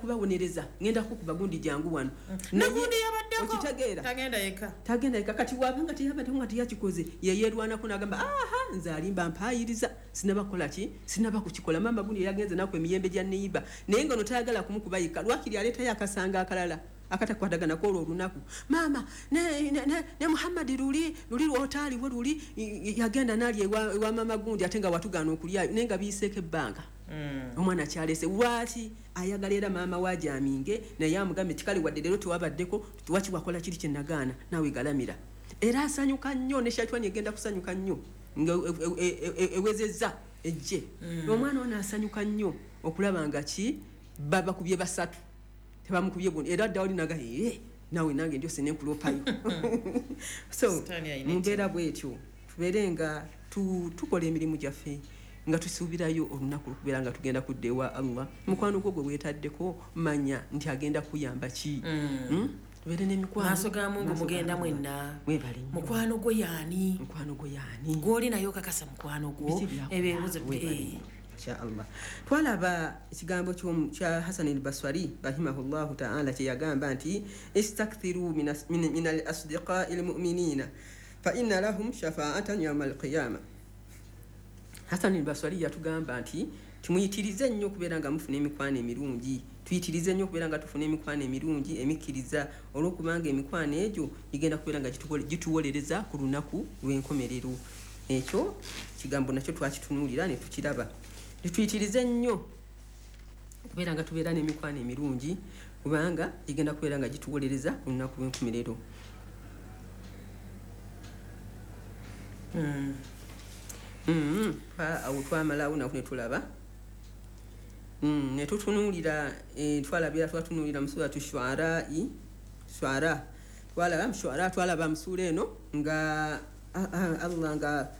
Kubawonereza, ngenda kukuba gundi, jangu wano. Nagundi yabaddeko. Okitegeera? Tagenda yekka. Tagenda yekka. Kati wabanga teyabaddeko nga teyakikoze, yeyerwanako nagamba, aha, nze alimba mpaayiriza, sinaba kukola ki, sinaba kukikola. Maama gundi yagenze naku emiyembe gya neiba, naye nga ono tayagala kumukuba yekka, lwakiri aleetayo akasanga akalala akatakwatagana kwolwo olunaku. Maama ne Muhammadi luli luli lwotaaliwo luli yagenda nalya ewa maama gundi, ate nga watugaana okulyayo, naye nga biyiseeko ebbanga. Omwana kyalese lwaki ayagala era maama wajaminge, naye amugambe tikale, wadde leero tewabaddeko, waki wakola kiri kyenagaana, naawe galamira. Era asanyuka nnyo, ne shaitwani egenda kusanyuka nnyo nga ewezezza ejje. Omwana ono asanyuka nnyo okulaba nga ki babakubye basatu, tebamukubye gundi, era dda wali naga, ee, naawe nange ndyose nenkulopayo. So Sitaani alina mu mbeera bwetyo tubeere nga tukola emirimu gyaffe nga tusuubirayo olunaku lwokubeera nga tugenda kudda ewa Allah. Mukwano gwo gwe weetaddeko, manya nti agenda kuyamba ki. Tubeere n'emikwano. Maaso ga Mungu. Maaso ga Mugenda Allah. Mwenna. Mwebale nnyo. Mukwano gwo yaani? Mukwano gwo yaani? Gwoli naye okakasa mukwano gwo? Biki byakola? Ebyo ebibuzo. Mwebale nnyo. Inshaallah twalaba ekigambo kya Hasan al Baswari rahimahullahu taala kyeyagamba nti istakthiru min al asdiqai lmuminina fa inna lahum shafaatan yauma alqiyama. Hasan al Baswari yatugamba nti timuyitirize nnyo okubeera nga mufuna emikwano emirungi, tuyitirize nnyo okubeera nga tufuna emikwano emirungi emikkiriza, olwokubanga emikwano egyo gigenda kubeera nga gituwolereza ku lunaku lw'enkomerero. Ekyo kigambo nakyo twakitunuulira ne tukiraba. Tetuyitirize nnyo okubeera nga tubeera n'emikwano emirungi, kubanga gigenda kubeera nga gituwolereza ku lunaku lw'enkomerero. Awo twamalawo nako ne tulaba, ne tutunuulira, twalabira, twatunuulira mu suratu Shuarai, Shuara, twalaba mu Shuara, twalaba mu suura eno nga Allah nga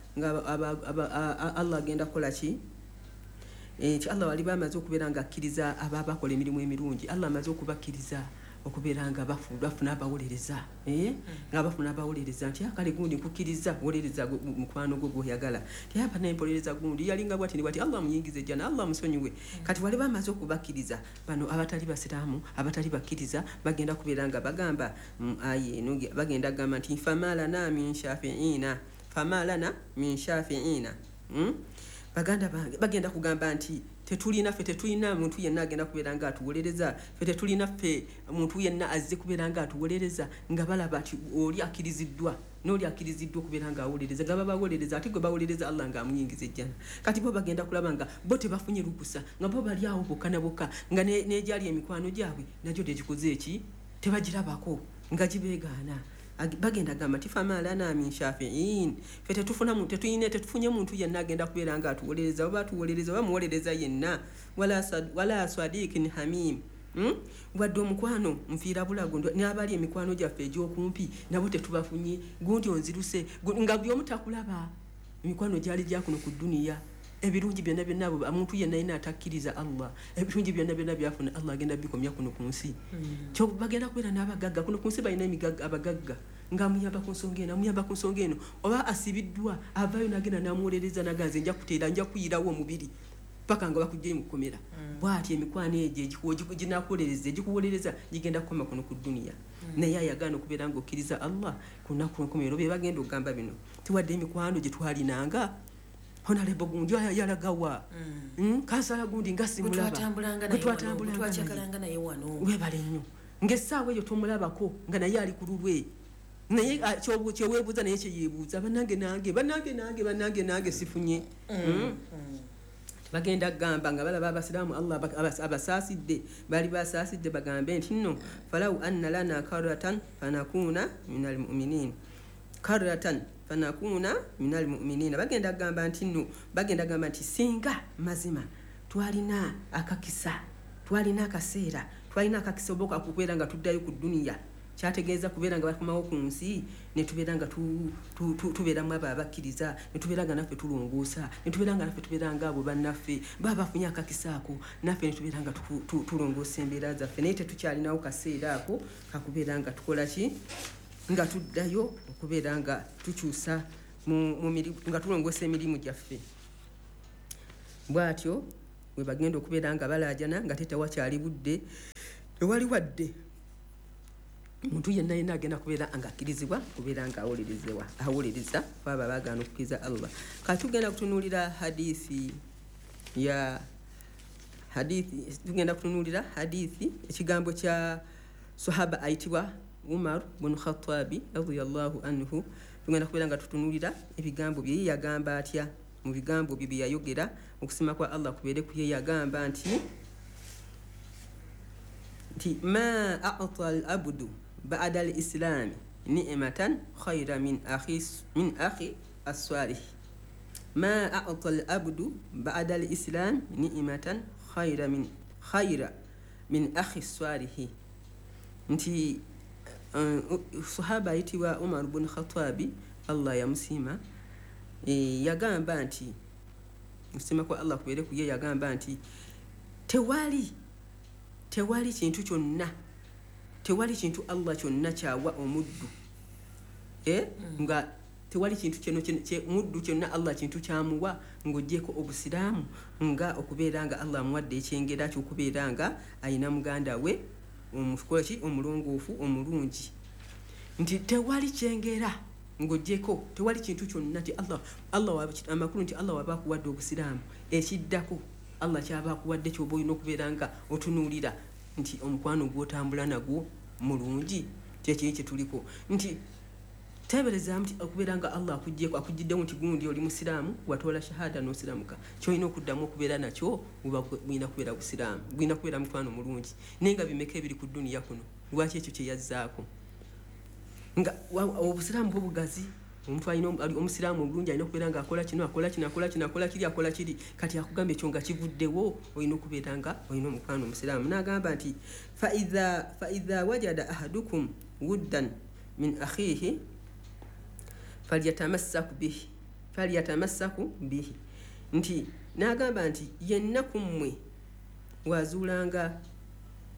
Allah agenda kukola ki? Nti Allah wali bamaze okubeera nga akkiriza aba bakola emirimu emirungi, Allah amaze okubakkiriza okubeera nga bafuna abawolereza, eh? Nga bafuna abawolereza nti kale gundi nkukkiriza wolereza mukwano gwo gwoyagala, ti apa nempolereza gundi yalinga bwati ne bwati, Allah muyingize ejjana, Allah musonyiwe. Kati wali bamaze okubakkiriza, bano abatali basiraamu, abatali bakkiriza, bagenda kubeera nga bagamba mu aya eno, bagenda kugamba nti famalana min shafiina, famalana min shafiina. Baganda bange bagenda kugamba nti tetulina, ffe tetulina muntu yenna agenda kubeera nga atuwolereza, ffe tetulina, ffe muntu yenna azze kubeera nga atuwolereza, nga balaba nti oli akkiriziddwa n'oli akkiriziddwa okubeera nga awolereza, nga babawolereza, ate gwe bawolereza Allah nga amuyingiza ejjana. Kati bo bagenda kulaba nga bo tebafunye lukusa, nga bo bali awo bokka na bokka, nga n'egyali emikwano gyabwe nagyo tegikoze eki, tebagirabako, nga gibeegaana. Bagenda gamba nti famalana min shafiin, ffe tetuyine, tetufunye muntu yenna agenda kubeera nga atuwolereza, oba atuwolereza oba muwolereza yenna, wala swadikin hamim. Wadde omukwano nfiira bulago, n'abali emikwano gyaffe egy'okumpi nabo tetubafunye, gundi onziruse, nga buli omu takulaba. Emikwano gyali gyakuno ku dduniya, ebirungi byonna byonna abo omuntu yenna yenna atakkiriza Allah, ebirungi byonna byonna byafuna Allah agenda bikomya kuno ku nsi. Kyo bagenda kubeera n'abagagga kuno ku nsi, balina abagagga ng'amuyamba ku nsonga eno, amuyamba ku nsonga eno, oba asibiddwa avaayo n'agenda n'amuwolereza, naganze nja kuteera, nja kuyirawo omubiri paka nga bakugyeyo mu kkomera. Bw'ati emikwano egyo ginakuwolereza, egikuwolereza gigenda kukoma kuno ku dduniya. Naye ayagaana okubeera ng'okkiriza Allah ku lunaku lw'enkomerero, be bagenda okugamba bino, tiwadde emikwano gye twalinanga, honorable gundi yalagawa, kansala gundi nga simulaba, Gwe twatambulanga Gwe naye wano, twatambulanga gwe naye. twakyakalanga naye wano. Webale nnyo, ng'essaawa eyo tomulabako, nga naye ali ku lulwe, naye kyeweebuuza naye kyeyeebuuza, bannange nange, bannange nange, bannange nange sifunye. Bagenda kugamba nga balaba abasiraamu Allah abasaasidde, bali basaasidde, bagambe nti nno falau anna lana karratan fanakuuna min almuminin, karratan fanakuuna min almuminina. Bagenda kugamba nti nno, bagenda kugamba nti singa mazima twalina akakisa, twalina akaseera, twalina akakisa oba okubeera nga tuddayo ku dduniya, kyategeeza kubeera nga bakomawo ku nsi ne tubeera nga tubeeramu abo abakkiriza, ne tubeera nga naffe tulongoosa, ne tubeera nga naffe tubeera nga abo bannaffe baba bafunye akakisa ako, naffe ne tubeera nga tulongoosa embeera zaffe, naye tetukyalinawo kaseera ako kakubeera nga tukola ki, nga tuddayo okubeera nga tukyusa nga tulongoosa emirimu gyaffe. Bw'atyo We bagenda okubeera nga balaajana nga tetewakyali budde, tewali wadde muntu yenna yenna agenda kubeera nga akkirizibwa kubeera nga awuliriza kwaba bagaana okukkiriza Allah. Kati tugenda kutunuulira hadithi ya hadithi, tugenda kutunuulira hadithi ekigambo kya sahaba ayitibwa Umar bin Khattabi radiyallahu anhu. Tugenda kubeera nga tutunuulira ebigambo bye yagamba atya mu bigambo bye yayogera, okusima kwa Allah kubeere ku ye. Yagamba nti ma a'ta al-abdu ba'da al-islam ni'matan khayra min akhi as-salih. Ma a'ta al-abdu ba'da al-islam ni'matan khayra min akhi as-salih. Nti sahaba ayitibwa Umar bin Khattabi Allah yamusiima, yagamba nti okusima kwa Allah kubeere ku ye, yagamba nti tewali kintu kyonna, tewali kintu Allah kyonna kyawa omuddu, nga tewali kintu kyonna muddu kyonna Allah kintu kyamuwa ng'oggyeko obusiraamu, nga okubeera nga Allah amuwadde ekyengera ky'okubeera nga ayina muganda we omukolaki omulongoofu omulungi. Nti tewali kyengera ng'oggyeko, tewali kintu kyonna nti Allah amakulu nti Allah waba akuwadde obusiraamu, ekiddako Allah kyaba akuwadde ky'oba olina okubeera nga otunuulira nti omukwano gw'otambula nagwo mulungi, kyekiri kye tuliko. Nti teeberezaamu nti okubeera nga Allah akuggyeko, akuggyiddewo nti gundi oli musiraamu, watoola shahada n'osiraamuka, ky'olina okuddamu okubeera nakyo bulina kubeera busiraamu, bulina kubeera mukwano mulungi. Naye nga bimeka ebiri ku dduniya kuno, lwaki ekyo kye yazzaako? Nga obusiraamu bwo bugazi, omuntu alina omusiraamu omulungi alina okubeera nga akola kino, akola kino, akola kino, akola kiri, akola kiri. Kati akugamba ekyo nga kivuddewo, olina okubeera nga olina omukwano omusiraamu. N'agamba nti fa idha wajada ahadukum wuddan min akhihi falyatamassaku bihi. Nti n'agamba nti yenna ku mmwe wazuulanga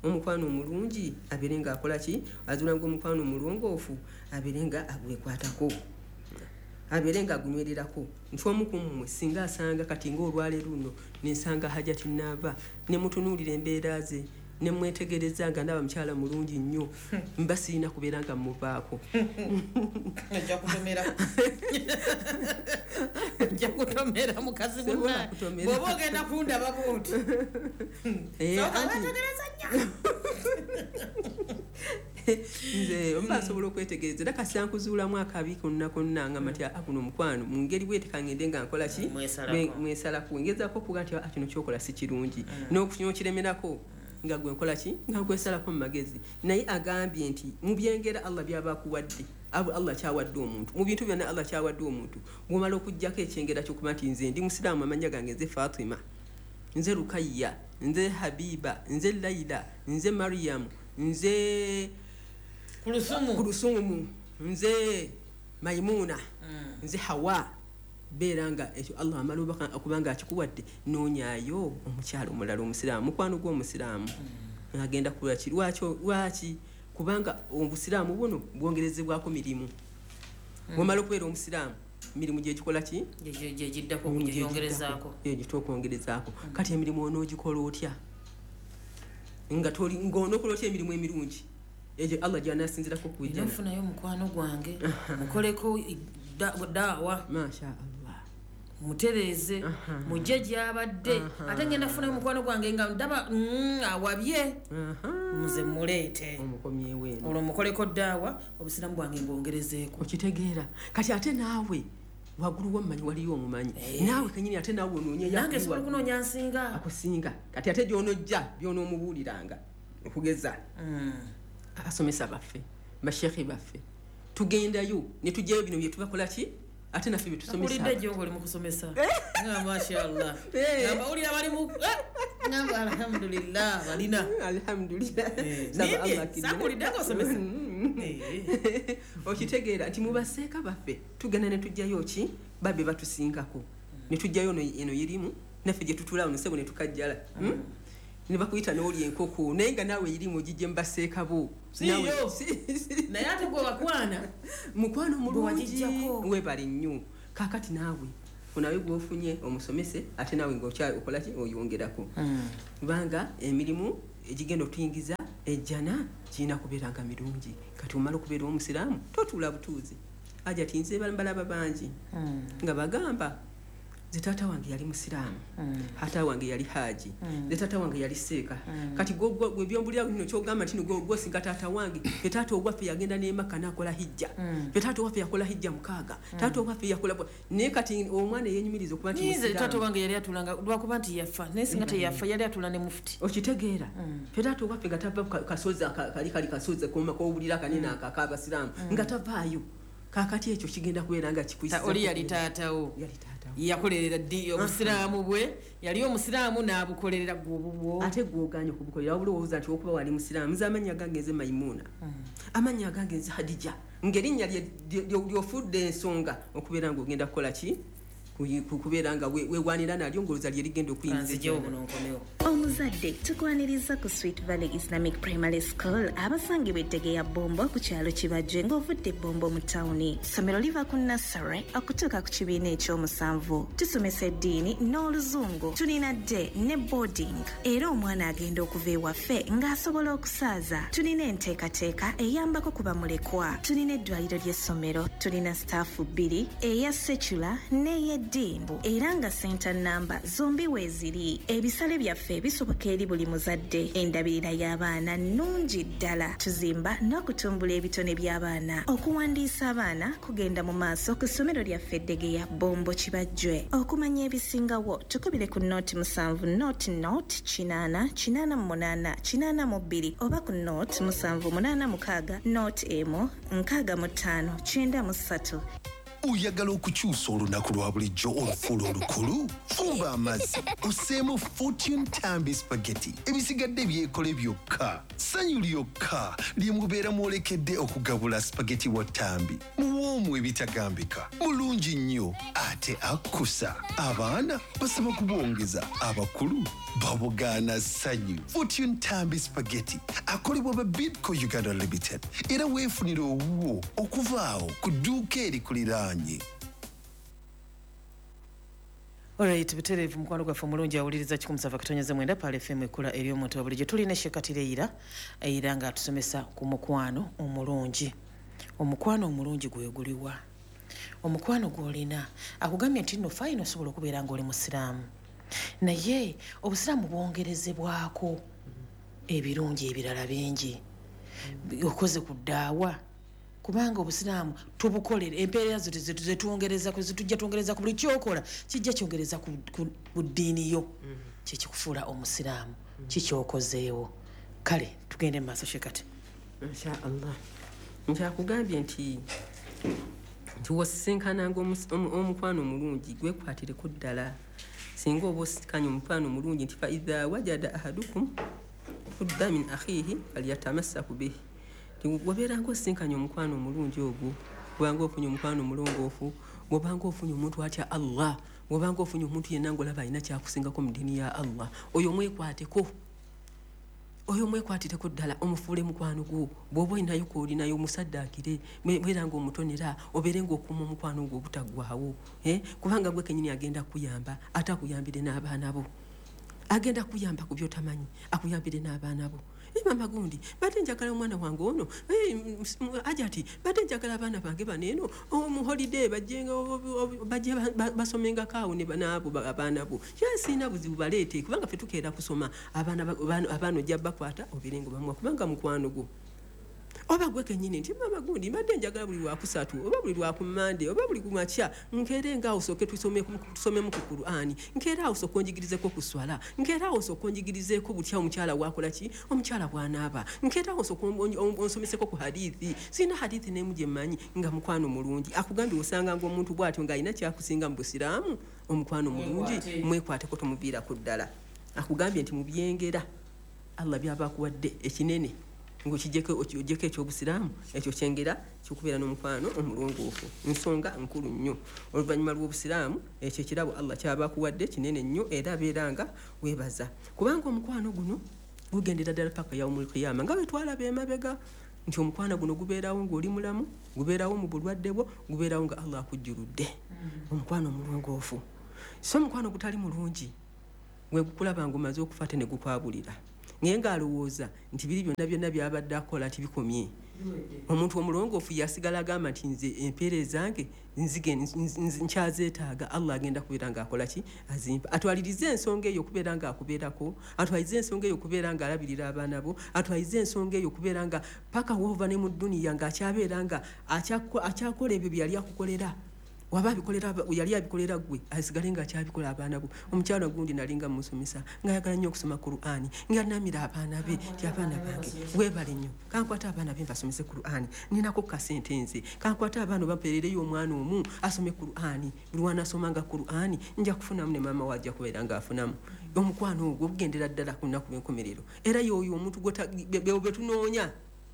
omukwano omulungi abeere nga akola ki, azuulanga omukwano omulongoofu abeere nga agwekwatako, abeere nga agunywererako. Nti omu ku mmwe singa asanga kati ng'olwaleero luno nensanga Hajati Naava, ne mutunuulira embeera ze, ne mwetegereza nga ndaba mukyala mulungi nnyo, mba sirina kubeera nga mmuvaako. Ojja kutomera mukazi munna bw'oba ogenda kundaba bw'oti. Wetegereza nnyo. Nze mba nsobola okwetegereza era kasi ankuzuulamu akabi konna konna nga mati guno omukwano mu ngeri bwete kangende nga nkola ki, mwesalako, ngezaako okuga nti kino kyokola si kirungi, n'okiremerako nga gwe nkola ki, nga gwesalako mu magezi. Naye agambye nti mu byengera Allah byaba akuwadde, Allah kyawadde omuntu, mu bintu byonna Allah kyawadde omuntu, bw'omala okuggyako ekyengera ky'okuba nti nze ndi musiraamu, amannya gange nze Fatima, nze Rukayya, nze Habiba, nze Laila, nze Mariam, nze Kulusumu, nze Maimuna, nze Hawa, beera nga ekyo Allah amala okuba nga akikuwadde, noonyaayo omukyalo omulala omusiraamu, mukwano gw'omusiraamu agenda kulaki. Lwaki? Kubanga obusiraamu buno bwongerezebwako mirimu. Bwomala okubeera omusiraamu, mirimu gyegikola ki, gyegitwokwongerezaako. Kati emirimu onoogikola otya nga ng'onookola otya emirimu emirungi egyo Allah gy'anaasinzirako okujja? Nfunayo mukwano gwange mukoleko daawa, masha Allah, mutereeze mujje gy'abadde, ate ngenda funayo mukwano gwange nga ndaba awabye, muze muleete omukomyewo eno, olwo mukoleko daawa, obusiraamu bwange mbwongerezeeko. Okitegeera? Kati ate naawe waggulu wammanyi waliyo omumanyi naawe kenyini, ate naawe onoonye nange sobola okunoonya nsinga akusinga. Kati ate gy'onojja by'onoomubuuliranga, okugeza abasomesa baffe, bashekhe baffe, tugendayo ne tujjayo bino bye tubakola ki, ate naffe bye tusomesa. Mpulidde jjo ng'oli mu kusomesa nga mashallah, ng'abawulira bali mu ngamba alhamdulillah balina. Alhamdulillah. Sakuwulidde ng'osomesa. Okitegeera nti mu baseeka baffe tugenda ne tujjayo ki babbe batusingako, ne tujjayo eno irimu naffe gye tutuula ono sebo ne tukajjala ne bakuyita n'olya enkoko, naye nga naawe irimu ogijje mu baseeka bo. Naye ate gwe wakwana mukwano mulungi, webale nnyo. Kaakati naawe Funayo gwofunye omusomese ate nawe ng'okola ki oyongerako. Kubanga emirimu egigenda okuyingiza ejjana kirina kubeera nga mirungi. Kati omala okubeera omusiraamu totuula butuuzi. Aja nze balaba bangi nga bagamba nze taata wange yali musiraamu, taata wange yali haji, nze taata wange yali seeka. Kati gwe byombulira bino kyogamba nti gwe singa taata wange, fe taata owaffe yagenda n'e Makka n'akola hijja, fe taata owaffe yakola hijja 6, taata owaffe yakola. Naye kati omwana eyenyumiriza okuba nti nze taata wange yali atulanga lwakuba nti yafa, naye singa teyafa yali atula ne mufuti. Okitegeera? Fe taata owaffe nga tava kasozi kali kasozi kowulira kanene ak'abasiraamu nga tavaayo. Kakati ekyo kigenda kubeera nga kikuyisa. Oli yali taatawo, yakolerera ddi obusiraamu bwe, yali omusiraamu n'abukolerera gwobubwo. Ate gw'ogaanye okubukolera wabula olowooza nti okuba wali musiraamu. Nze amannya gange nze Maimuna, amannya gange nze Hadija, ng'erinnya ly'ofudde ensonga okubeera ng'ogenda kukola ki, kubeera nga weewaanira nalyo ng'olowooza lye ligenda okuyingiza. Omuzadde tukwaniriza ku Sweet Valley Islamic Primary School abasangibwa Eddegeya Bombo ku kyalo Kibajje ng'ovudde Bombo mu tawuni. Ssomero liva ku nursery okutuuka ku kibiina eky'omusanvu. Tusomesa eddiini n'oluzungu. Tulina day ne boarding era omwana agenda okuva ewaffe ng'asobola okusaaza. Tulina enteekateeka eyambako ku bamulekwa. Tulina eddwaliro ly'essomero. Tulina staafu 2 eya secular n'ey'eddiini era nga senta namba zombi weeziri. Ebisale byaffe bisoboka eri buli muzadde. Endabirira y'abaana nnungi ddala. Tuzimba n'okutumbula ebitone by'abaana. Okuwandiisa abaana kugenda mu maaso ku ssomero lyaffe Eddegeya Bombo Kibajjwe. Okumanya ebisingawo tukubire ku 07 00 8 88 82 oba ku 0786 01 65 93. Oyagala okukyusa olunaku lwa bulijjo olufuula olukulu? Fumba amazzi osseemu Fortune Tambi spaghetti, ebisigadde byekole byokka. Ssanyu lyokka lye mubeera mwolekedde okugabula spaghetti wa Tambi. Muwoomu ebitagambika, mulungi nnyo ate akkusa. Abaana basaba kubongeza, abakulu babugaana ssanyu. Fortune Tambi spaghetti akolebwa ba Bidco Uganda Limited era weefunire owuwo okuva awo ku dduuka erikuliraanye. Alright, butereevu mukwano gwaffe omulungi awuliriza 107.9 Pal FM ekkula ery'omuntu wa bulijjo. Tulina Sheikh Era ng'atusomesa ku mukwano omulungi. Omukwano omulungi gwe guliwa? Omukwano gw'olina akugambye nti nno fayina osobola okubeera ng'oli musiraamu, naye obusiraamu bwongerezebwako ebirungi ebirala bingi. Okoze ku ddaawa kubanga obusiraamu tubukolera empeera zo zetwongereza tujja twongereza ku buli kyokola kijja kyongereza ku ddiini yo kyekikufuula omusiraamu kikyokozeewo. Kale tugende mu maaso Sheikh. Insha Allah. Nkyakugambye nti wosisinkananga omukwano omulungi gwekwatireko ddala. Singa oba osisikanye omukwano omulungi nti fa idha wajada ahadukum fudda min akhihi falyatamassaku bihi. Wabeeranga osisinkanye omukwano omulungi ogwo, kubanga ofunye omukwano omulongoofu, bw'obanga ofunye omuntu atya Allah, bw'obanga ofunye omuntu yenna ng'olaba alina kyakusingako mu ddiini ya Allah, oyo mwekwateko. Oyo mwekwatireko ddala omufuule mukwano gwo. Bw'oba olinayo kw'olinayo omusaddaakire, beera ng'omutonera, obeere ng'okuuma omukwano gwo obutaggwaawo. Kubanga gwe kennyini agenda kukuyamba, ate akuyambire n'abaana bo. Agenda kukuyamba ku by'otamanyi, akuyambire n'abaana bo. Mama gundi, badde njagala omwana wange ono, Ajati, badde njagala abaana bange bano eno, mu holiday bajje basomengako awo ne banaabo abaana bo. Siina buzibu baleete, kubanga ffe tukeera kusoma, abaana ojja bakwata obeere nga bamuwa, kubanga mukwano gwo. Oba gwe kennyini nti mama gundi mbadde njagala buli lwakusatu oba buli lwakummande oba buli kumakya nkeere nga awo sooke tusomemu ku Qur'ani, nkeere awo sooke onjigirizeko ku swala, nkeere awo sooke onjigirizeeko butya omukyala bw'akola ki, omukyala bw'anaaba, nkeere awo sooke onsomeseko ku hadithi. Sirina hadithi n'emu gye mmanyi nga mukwano mulungi. Akugambye osanganga omuntu bw'atyo ng'alina kyakusinga mu busiraamu, omukwano mulungi mwekwateko tomuviirako ddala. Akugambye nti mu byengera Allah by'aba akuwadde ekinene ng'okijjeko eky'obusiraamu ekyo kyengera kikubeera n'omukwano omulongoofu. Nsonga nkulu nnyo. Oluvannyuma lw'obusiraamu ekyo ekirabo Allah ky'aba akuwadde kinene nnyo era abeera nga weebaza, kubanga omukwano guno Gugendera ddala paka yaumul qiyama, nga bwe twalaba emabega nti omukwano guno gubeerawo ng'oli mulamu, gubeerawo mu bulwadde bwo, gubeerawo nga Allah akujjuludde. Omukwano omulongoofu. So omukwano gutali mulungi gwe gukulaba ng'omaze okufa ate ne gukwabulira, naye ng'alowooza nti biri byonna byonna byabadde akola nti bikomye. Omuntu omulongoofu yasigala agamba nti nze empeera ezange nkyazeetaaga, Allah agenda kubeera ng'akola ki, azimpa. Atwalirize ensonga eyo okubeera ng'akubeerako, atwalirize ensonga eyo okubeera ng'alabirira abaana bo, atwalirize ensonga eyo okubeera nga paka woova ne mu dduniya ng'akyabeera nga akyakola ebyo bye yali akukolera. Waba abikolera, yali abikolera ggwe, asigale ng'akyabikola abaana bo. Omukyala gundi nalinga musomesa ng'ayagala nnyo okusoma Qur'ani, ng'anamira abaana be nti abaana bange weebale nnyo, kankwate abaana be mbasomese Qur'ani, ninako kasente nze, kankwate abaana bampeerereyo omwana omu asome Qur'ani, buli lw'anaasomanga Qur'ani nja kufunamu ne maama we ajja kubeera ng'afunamu. Omukwano ogwo gugendera ddala ku lunaku lw'enkomerero. Era y'oyo omuntu be tunoonya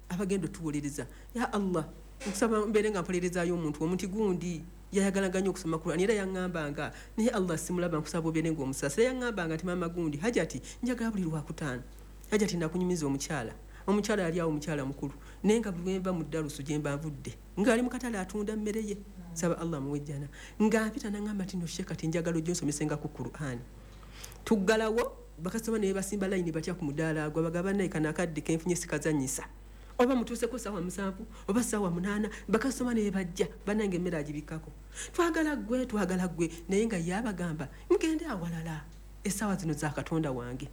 abagenda otuwolereza. Ya Allah, nkusaba mbeere nga mpolerezaayo omuntu omuti gundi yayagalanga nnyo okusoma Qur'ani, era yaŋŋambanga naye Allah simulaba, nkusaba obeere ng'omusaasira. Yaŋŋambanga nti maama gundi Hajati njagala buli lwakutaano, Hajati nakunyumiza omukyala, omukyala yali awo omukyala mukulu, naye nga buli lwe nva mu ddalusu gye mba nvudde ng'ali mu katale atunda mmere ye, nsaba Allah amuwe ejjana, nga mpita n'aŋŋamba nti no Sheikh kati njagala ojje onsomesenga ku Qur'ani. Tuggalawo bakasitoma ne basimba layini batya ku mudaala agwo, bagamba naye kano akadde kenfunye sikazannyisa, oba mutuuseko ssaawa 7 oba ssaawa 8, bakasitoma ne bajja bannange emmere agibikkako, twagala ggwe, twagala ggwe, naye nga ye abagamba mugende awalala, essaawa zino za Katonda wange.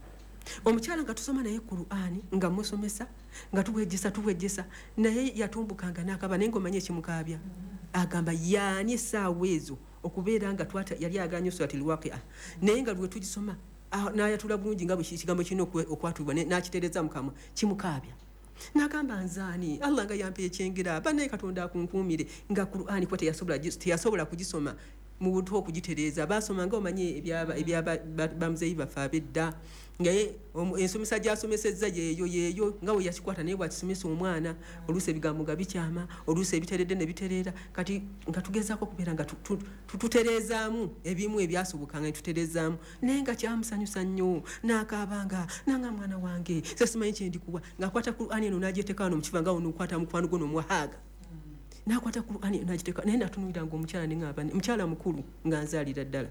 Omukyala nga tusoma naye Qur'ani, nga musomesa, nga tuwejjesa, tuwejjesa, naye yatumbukanga n'akaba, naye ng'omanyi ekimukaabya, agamba yaani essaawa ezo okubeera nga yali ayagala nnyo Suratul Waqi'a, naye nga lwe tugisoma n'ayatula bulungi nga bwe ekigambo kirina okwatulibwa, n'akitereeza mu kamwa, kimukaabya. N'agamba nzaani Allah nga yampa ekyengera, bannaye Katonda akunkuumire, nga Qur'ani kuba teyasobola kugisoma mu buto okugitereeza. Baasoma nga omanyi ebya bamuzeeyi baffe ab'edda, naye ensomesa gy'asomesezza yeeyo yeeyo nga bwe yakikwata, naye bw'akisomesa omwana oluusi ebigambo nga bikyama, oluusi ebiteredde ne bitereera. Kati nga tugezaako okubeera nga tutereezaamu ebimu ebyasobokanga ne tutereezaamu, naye nga kyamusanyusa nnyo, n'akaabanga nanga mwana wange nze simanyi kye ndikuwa, ng'akwata Qur'ani eno n'agiteeka wano mu kifa nga wano okwata mukwano gwo n'omuwahaaga, n'akwata Qur'ani eno n'agiteeka, naye natunuuliranga omukyala ne ŋŋamba mukyala mukulu nga nzaalira ddala,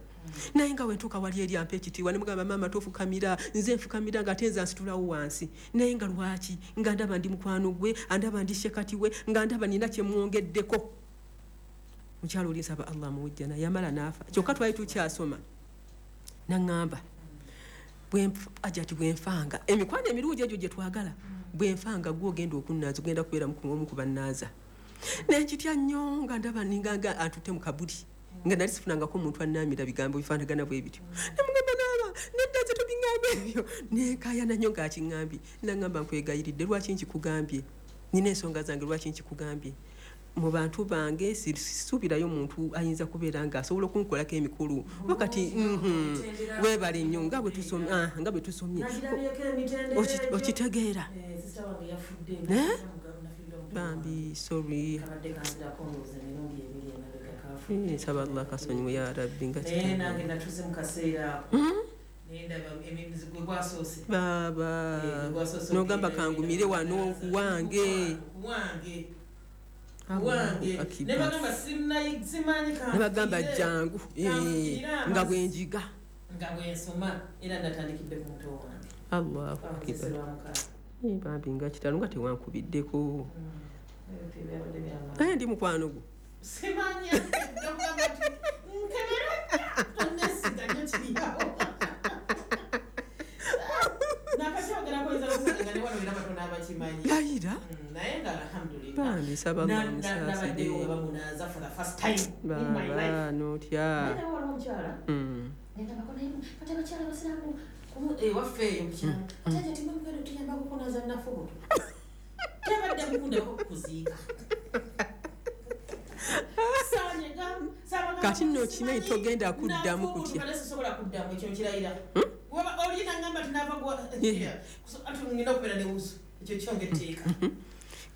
naye nga wentuuka wali eri ampa ekitiibwa ne mugamba maama tofukamira, nze nfukamira nga ate nze ansitulawo wansi, naye nga lwaki nga ndaba ndi mukwano gwe, andaba ndi shekati we, nga ndaba nina kye mwongeddeko. Mukyala oli nsaba Allah amuwe ejjana, yamala n'afa, kyokka twali tukyasoma, n'aŋŋamba Hajati bwe nfanga emikwano emirungi egyo gye twagala, bwe nfanga gwe ogenda okunnaaza, ogenda kubeera omu ku bannaaza. Naye nkitya nnyo nga ndaba ninga nga antutte mu kabuli, nga nali sifunangako omuntu annaamira bigambo bifaanagana bwe bityo. Ne mugamba naaba nedda nze tobiŋŋamba ebyo, nenkaayana nnyo ng'akiŋŋambye. N'aŋŋamba nkwegayiridde, lwaki nkikugambye? Nina ensonga zange, lwaki nkikugambye? Mu bantu bange sisuubirayo muntu ayinza kubeera ng'asobola okunkolako emikulu. Wakati, weebale nnyo nga bwe tusomye, nga bwe tusomye. Okitegeera. Bambi, sorry. Nsaba Allah akasonyiwe ya Rabbi nga Baba, n'ogamba kangumire wano wange. Nebagamba jangu nga bwenjiga nga bwensoma, era natandikidde ku muto wange. Allahu akbar. Bambi nga kitalo nga tewankubiddeko. Naye ndi mukwano gwo. Simanya nkebera tonesiga nnyo kiriawo. Layira. Bambi nsaba Allah amusaasire. Baba n'otya. Kati nno okimanyi togenda kuddamu kutya.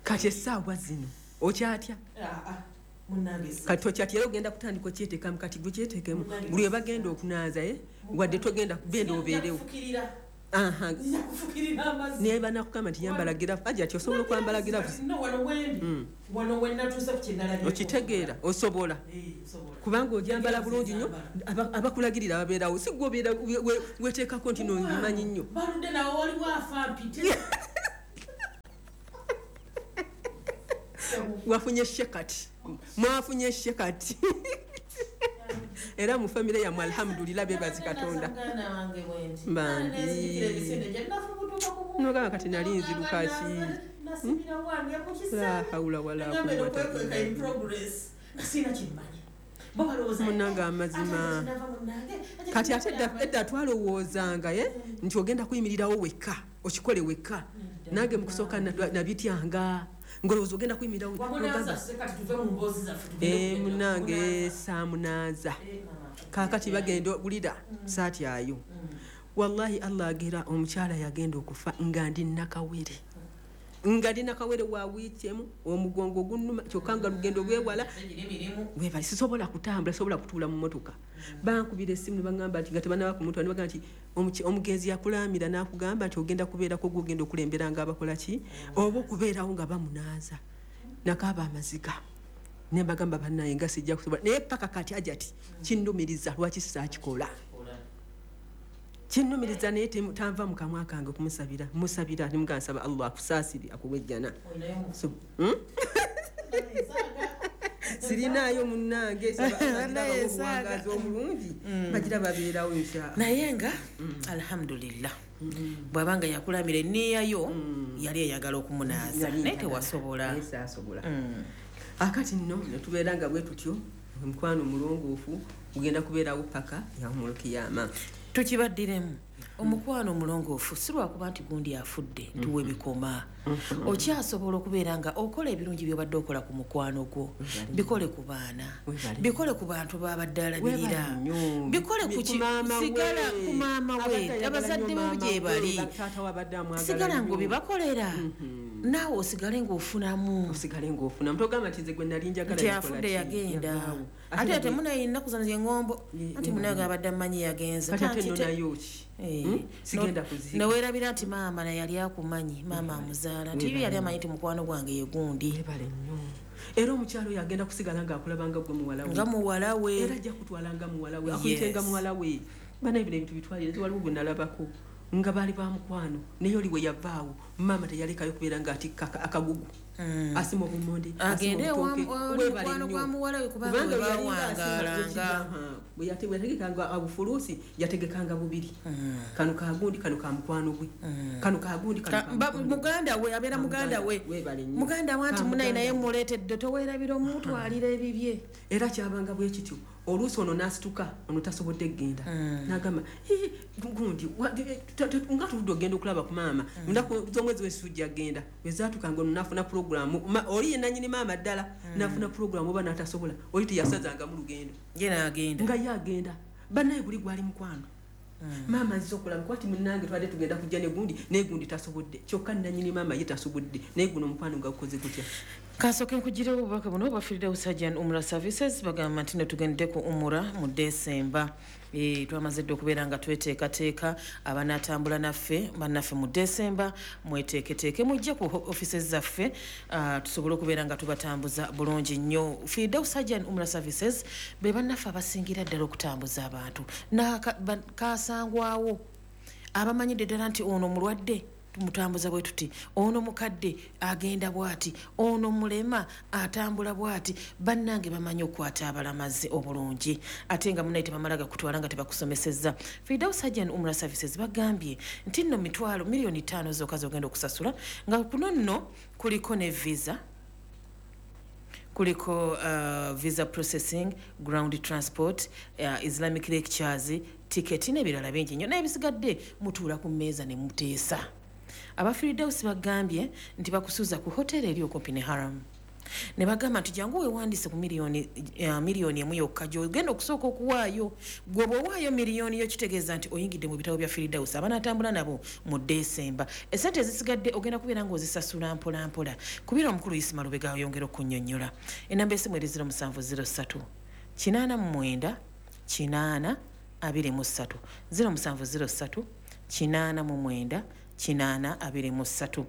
Kati essaawa zino okyatya? Kati okyatya era ogenda kutandika okyeteekamu, kati gwe kyeteekemu buli we bagenda okunaaza, wadde togenda kugenda obeerewo. Naye banakugamba nti yambala girafu, aja ati osobola okwambala girafu. Okitegeera osobola kubanga ojambala bulungi nnyo, abakulagirira babeerawo, si gwe obeera weteekako nti nobimanyi nnyo. Wafunye shekati, mwafunye shekati. Era mu famire yammwe alhamdulillah bebazi Katonda. Bambi nogamba kati nali nziruka ki? La hawla wala quwwata illa billah. Munnange amazima kati ate edda twalowoozanga nti ogenda kuyimirirawo wekka, okikole wekka. Nange mu kusooka nabityanga ngolowooza ogenda kuyimirirawo. Munnange saamunaaza kaakati bagenda wulira saatyayo. Wallahi Allah agera omukyala yagenda okufa nga ndi nakawere, nga ndi nakawere wa wiiki emu, omugongo gunnuma kyokka nga lugendo lwewala webali, sisobola kutambula, sisobola kutuula mu mmotoka. Bankubira essimu ne baŋŋamba nti nga tebannaba kumutwala, ne bagamba nti omugenzi yakulaamira n'akugamba nti ogenda kubeerako gw'ogenda okulembera nga abakola ki oba okubeerawo nga bamunaaza. Nakaaba amaziga ne mbagamba bannaye nga sijja kusobola, naye paka kati ajati kinnumiriza lwaki saakikola. Kinnumiriza naye tanva mu kamwa kange okumusabira, musabira ne nsaba Allah akusaasire akuwe ejjana. Sirinaayo munnange, obuwangaazi obulungi bagira babeerawo inshallah. Naye nga alhamdulillah bw'abanga yakulamira enniyayo yali eyagala okumunaaza naye tewasobola. Akati nno ne tubeera nga bwe tutyo, omukwano omulongoofu gugenda kubeerawo paka yaumul kiyama. Tukibaddiremu omukwano omulongoofu si lwakuba nti gundi afudde nti webikoma. Okyasobola okubeera nga okola ebirungi by'obadde okola ku mukwano gwo, bikole ku baana, bikole ku bantu babadde alabirira, bikole ku sigala ku maama we, abazadde be gye bali, sigala ng'obibakolera naawe osigale ng'ofunamu. Osigale ng'ofunamu, togamba nti nze gwe nali njagala nti afudde yagenda. Ate ate munaye ennaku zano z'eŋŋombo anti munaye abadde amanyi yagenze. Kati ate nno nayo ki? Sigenda kuziika. Neweerabira nti maama naye yali akumanyi, maama amuzaala nti yali amanyi nti mukwano gwange ye gundi. Webale nnyo. Era omukyalo oyo agenda kusigala ng'akulaba nga gwe muwala we. Nga muwala we. Era ajja kutwala nga muwala we, akuyite nga muwala we. Banaye bino ebintu bitwalire, nze waliwo gwe nalabako nga baali ba mukwano naye oli we yavaawo maama teyalekayo kubeera ng'atikka akagugu. Asima obumonde, agende mukwano gwa muwala we kubanga we bawangaalanga. Bwe yategekanga abufulusi yategekanga bubiri, kano kagundi kano ka mukwano gwe, kano kagundi kano muganda we, abeera muganda we, muganda we anti munaye naye muleetedde toweerabira omutwalira ebibye. Era kyabanga bwe kityo, oluusi ono n'asituka ono tasobodde kugenda n'agamba gundi nga tuludde ogenda okulaba ku maama ennaku z'omwezi wesujja genda wezaatukanga ono n'afuna pulogulaamu, oli ye nannyini maama ddala n'afuna pulogulaamu oba n'atasobola, oli teyasazangamu lugendo ye n'agenda nga ye agenda. Bannaye guli gwali mukwano. Maama nziza okulaba kuba ti munnange twadde tugenda kujja ne gundi naye gundi tasobodde, kyokka nannyini maama ye tasobodde naye guno omukwano nga gukoze gutya. Kasooke nkugirewo obubaka buno oba Sajan Umrah Services bagamba nti ne tugende ku Umrah mu Desemba. Twamaze dda okubeera nga tweteekateeka abanaatambula naffe bannaffe mu Desemba, mweteeketeeke mujje ku offices zaffe tusobole okubeera nga tubatambuza bulungi nnyo. Firdaus Sajan Umrah Services be bannaffe abasingira ddala okutambuza abantu kasangwawo abamanyidde ddala nti ono mulwadde tumutambuza bwe tuti, ono mukadde agenda bw'ati, ono mulema atambula bw'ati. Bannange bamanyi okukwata abalamazi obulungi ate nga munaye tebamala gakutwala nga tebakusomesezza. Firdaus Sajan Umrah Services bagambye nti nno 5 miliyoni zokka z'ogenda okusasula, nga kuno nno kuliko ne visa, kuliko visa processing, ground transport, Islamic lectures, tiketi n'ebirala bingi nnyo, n'ebisigadde mutuula ku mmeeza ne muteesa. Aba Firdaus bagambye nti bakusuza ku hoteri eri okumpi ne Haram. Ne bagamba nti jangu weewandiise ku miliyoni 1 yokka gy'ogenda okusooka okuwaayo. Gwe bw'owaayo miliyoni yo kitegeeza nti oyingidde mu bitabo bya Firdaus abanaatambula nabo mu Desemba. Essente ezisigadde ogenda kubeera ng'ozisasula mpola mpola. Kubira omukulu Isima Lubega ayongera okunnyonnyola. Enamba esimu eri 0703 89 8 23 0703 89 823.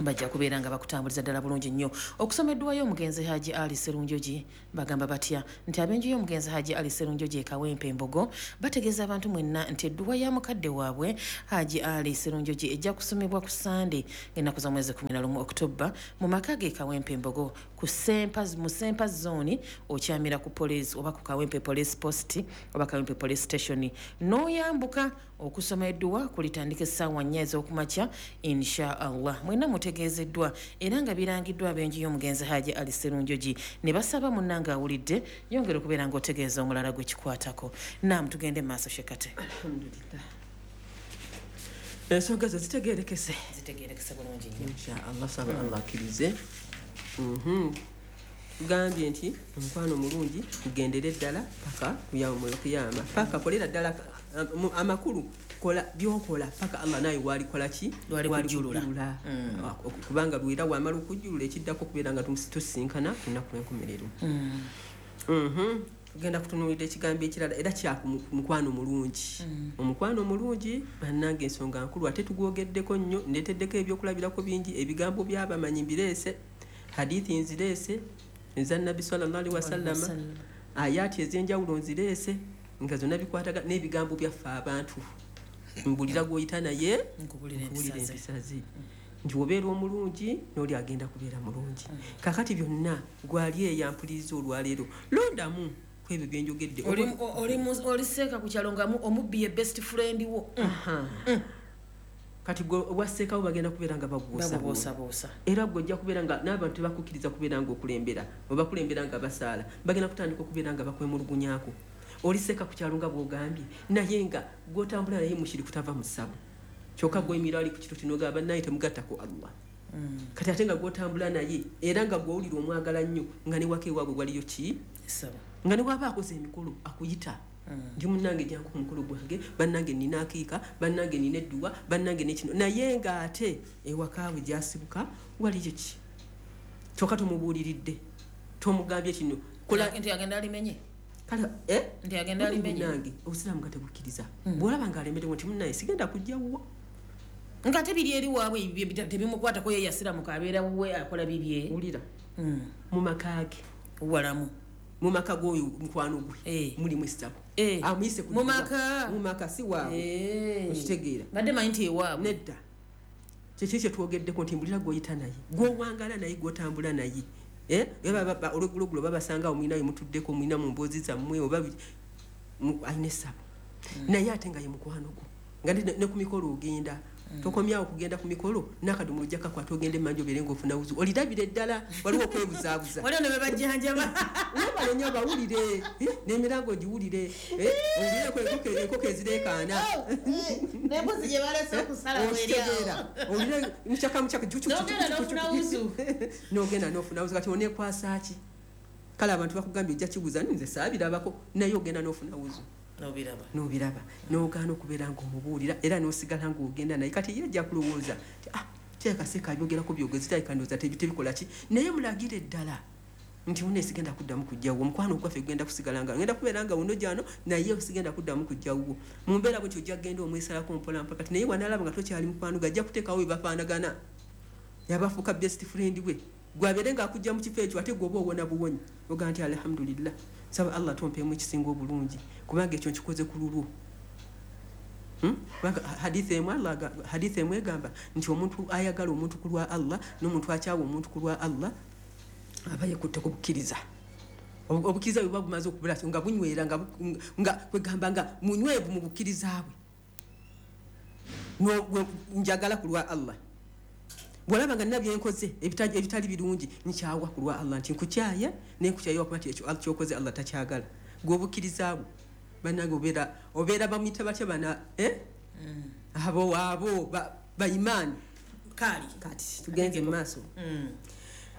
Bajja kubeera nga bakutambuliza ddala bulungi nnyo. Okusoma edduwa y'omugenzi Haji Ali Serunjogi, bagamba batya nti ab'enju y'omugenzi Haji Ali Serunjogi e Kawempe Embogo bategeeza abantu mwenna nti edduwa ya mukadde waabwe Haji Ali Serunjogi ejja kusomebwa ku Sande ng'ennaku za mwezi 11 Oktoba mu maka ge Kawempe Embogo ku Sempa, mu Sempa zone, okyamira ku police oba ku Kawempe Police Post oba Kawempe Police Station n'oyambuka. Okusoma edduwa kulitandika essaawa 4 ez'okumakya insha Allah. Mwenna mutegeezeddwa era nga birangiddwa ab'enju y'omugenzi Haji Ali Serunjogi ne basaba munnange awulidde yongera okubeera ng'otegeeza omulala gwe kikwatako. Naam, tugende mu maaso Shekate. Alhamdulillah, ensonga zo zitegeerekese, Zitegeerekese bulungi nnyo. Insha Allah, saba Allah akkirize. Tugambye nti omukwano omulungi gugendere ddala paka ku kiyama, paka kolera ddala amakulu, kola byokola paka Allah naye walikola ki, Lwalikujjulula. Kubanga lwera wamala okujjulula ekiddako okubeera nga tusinkana ku lunaku lw'enkomerero. Tugenda kutunuulira ekigambo ekirala era kya mukwano mulungi. Omukwano omulungi bannange ensonga nkulu, ate tugwogeddeko nnyo, ndeeteddeko ebyokulabirako bingi, ebigambo by'abamanyi mbireese, hadithi nzireese eza Nabbi sallallahu alaihi wasallama, ayati ez'enjawulo nzireese nga zonna bikwataga n'ebigambo byaffe abantu. Mbulira gw'oyita naye Nkubulira nkuwulira empisa ze. Empisa ze nti obeera omulungi n'oli agenda kubeera mulungi. Kakati byonna gwali eyampuliriza olwaleero, londamu ku ebyo byenjogedde. Oli seeka ku kyalo nga omubbi ye best friend wo. Aha. Kati gwe obwasseekawo bagenda kubeera nga babuusabuusa, Babubuusabuusa. Era gwe ojja kubeera nga n'abantu tebakukkiriza kubeera nga okulembera, obakulembera nga basaala, bagenda kutandika okubeera nga bakwemulugunyaako. Oli seeka ku kyalo nga bw'ogambye, naye nga gw'otambula naye mushiriku tava mu ssabo, kyokka gw'oyimirira ali ku kituuti n'ogamba bannaye temugattako Allah. Kati ate nga gw'otambula naye era nga gw'owulira omwagala nnyo, nga ne waka ewaabwe waliyo ki, Essabo. Nga ne bw'aba akoze emikolo akuyita nti munnange jangu ku mukolo gwange, bannange nina akiika, bannange nina edduwa, bannange nekino, naye ng'ate ewakaawe gyasibuka waliyo ki, kyokka tomubuuliridde, tomugambye kino kola. Nti agenda alimenye. Kale, eh? Nti agenda alimenye. Munnange obusiraamu nga tebukkiriza, bw'olaba ng'alemerewo nti munnaye sigenda kujja wuwo. Nga ate biri eri waabwe ebyo tebimukwatako, ye yasiramuka abeera wuwe akola bibye. Wulira, mu maka ge Walamu. Mu maka g'oyo mukwano gwe mulimu essabo, amuyise ku Mu dduwa. maka? Mu maka, si waabwe. Okitegeera? Badde manyi nti ewaabwe. Nedda, kyeki kyetwogeddeko nti mbulira gw'oyita naye, gw'owangala naye, gw'otambula naye. Eh? Era olweggulogulo babasangawo mulina we mutuddeko, mulina mu mboozi zammwe oba alina essabo, naye ate nga ye mukwano gwo, nga ne ku mikolo ogenda, tokomyawo kugenda ku mikolo n'akadomola ojja kakwata ogenda emmanju obeere ng'ofuna wuzu, olirabire ddala waliwo okwebuzaabuza. Waliwo ne bebajjanjaba. Webale nnyo, bawulire, n'emirango ogiwulire, owulireko enkoko ezireekaana. N'embuzi gye balese okusala. Okitegeera? Owulire mukyaka mukyaka. N'ogenda n'ofuna wuzu. N'ogenda n'ofuna wuzu. Kati oneekwasa ki? Kale abantu bakugambye ojja kibuuza, nze saabirabako, naye ogenda n'ofuna wuzu. Nobiraba. N'obiraba, n'ogaana okubeera ng'omubuulira era n'osigala ng'ogenda naye. Kati ye ajja kulowooza nti ah, kirabika seeka abyogerako byogezi, kirabika ndowooza tebikola ki, naye mulagire ddala nti mune sigenda kuddamu kujjawo, omukwano ogwaffe gugenda kusigala nga ngenda kubeera nga wuno gyano, naye sigenda kuddamu kujjawo mu mbeera bwetyo. Ojja kugenda omwesalako mpola mpola. Kati naye wanalaba nga tokyali mukwano gwe, ajja kuteekawo webafaanagana, yabafuuka best friend we, gwabeere ng'akujja mu kifo ekyo, ate gwoba owona buwonyi, ogaa nti alhamdulillah, saba Allah tompeemu ekisinga obulungi, kubanga ekyo nkikoze ku lulwo. Kubanga hadithi emu Allah hadithi emu egamba nti omuntu ayagala omuntu ku lwa Allah n'omuntu akyawa omuntu ku lwa Allah aba yekutte ku bukkiriza. Obukkiriza bwe buba bumaze okubula nga bunywera nga kwegamba nga munywevu mu bukkiriza bwe. Njagala ku lwa Allah, bwolaba nga nina byenkoze ebitali birungi, nkyawa ku lwa Allah, nti nkukyaye naye nkukyaye wakuba nti ekyo kyokoze Allah takyagala. Gwe obukkiriza bwo bannange obeera bamuyita batya bana, eh? Abo baimaani. Kaali. Kati tugenze mu maaso,